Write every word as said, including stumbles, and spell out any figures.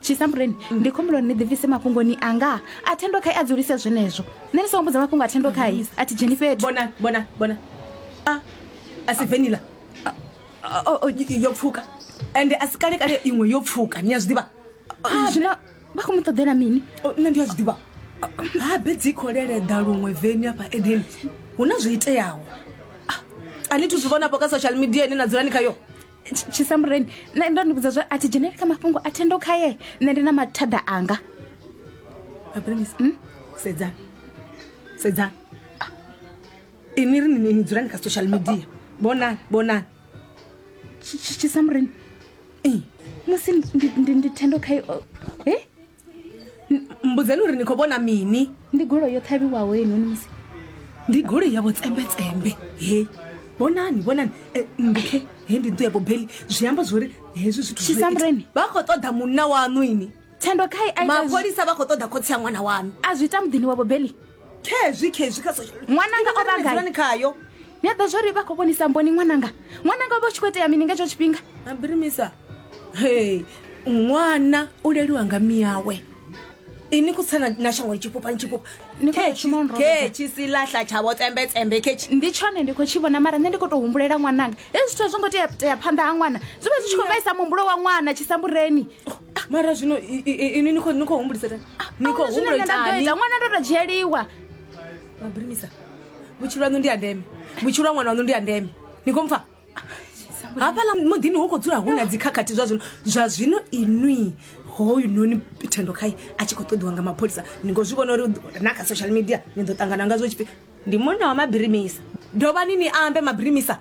Tshisambureni ndi khumbula uri ni ḓibvise mafhungoni anga a thendo khai a dzulise zwenezwo. Nṋe ni songo mbudza mafhungo a thendo khai a thi dzheni fhethu. Bona bona bona a a si venila yo pfuka ende a si kale kale iṅwe yo pfuka ni a zwi ḓivha. Zwino vha khou mu ṱoḓela mini? Nṋe ndi a zwi ḓivha habe dzi khou leleḓa luṅwe veni afha edeni hu na zwo iteaho a ni thu zwi vhona afho kha social media ine na dzulani khayo. Tshisambureni nṋe ndo ni vhudza zwa a thi dzheneli kha mafhungo a thendo khaye nṋe ndi na mathada anga. Hmm? Sedzani sedzani ini ri ni dzulani kha social media vhonani vhonani. Tshisambureni musi ndi thendo khaye eh mbudzeni uri ni khou vhona mini? Ndi goloi yo ṱhavhiwaho heinoni musi ndi goloi ya vhotsembetsembe he vhonani vhonani ndi khe he ndi nnḓu ya vhobeli zwi amba zwori hezwi zwithu Tshisambureni vha khou ṱoḓa munna waṋu ini thendo khai a mapholisa vha khou ṱoḓa khotsi ya ṅwana waṋu a zwi ita muḓini wa vhobeli khezwi khezwi kha social ṅwananga o vha gai khayo ni a ḓo zwori vha khou vhonisa mboni ṅwananga ṅwananga o vha u tshi khou itea mini nga hetsho tshifhinga? Ambirimisa he ṅwana u leliwa nga miyawe ini ku tsana na shango tshifhufha tshifhufha khetshi silahla tsha vho tsembetsembe khetshi ndi tshone ndi khou tshi vhona mara nṋe ndi khou tou humbulela ṅwananga hezwi zwithu a zwo ngo tea tea phanḓa ha ṅwana zwi vha zwi tshi khou vhaisa muhumbulo wa ṅwana Tshisambureni. Mara zwino ini ni khou ni khou humbulisa ni khou humbula itani ṅwana ndo tou dzhieliwa. Mabirimisa vhutshilo haṋu ndi ya ndeme vhutshilo ha ṅwana waṋu ndi ya ndeme ni khou mpfa hafhaḽa muḓini hu khou dzula hu na dzikhakhathi zwa zwino zwa zwino inwi hoyu noni thendo khai a tshi khou ṱoḓiwa nga mapholisa ni ngo zwi vhona uri na kha social media ni ḓo ṱangana ngazwo tshifhi ndi munna wa mabirimisa dovhani ni ambe mabirimisa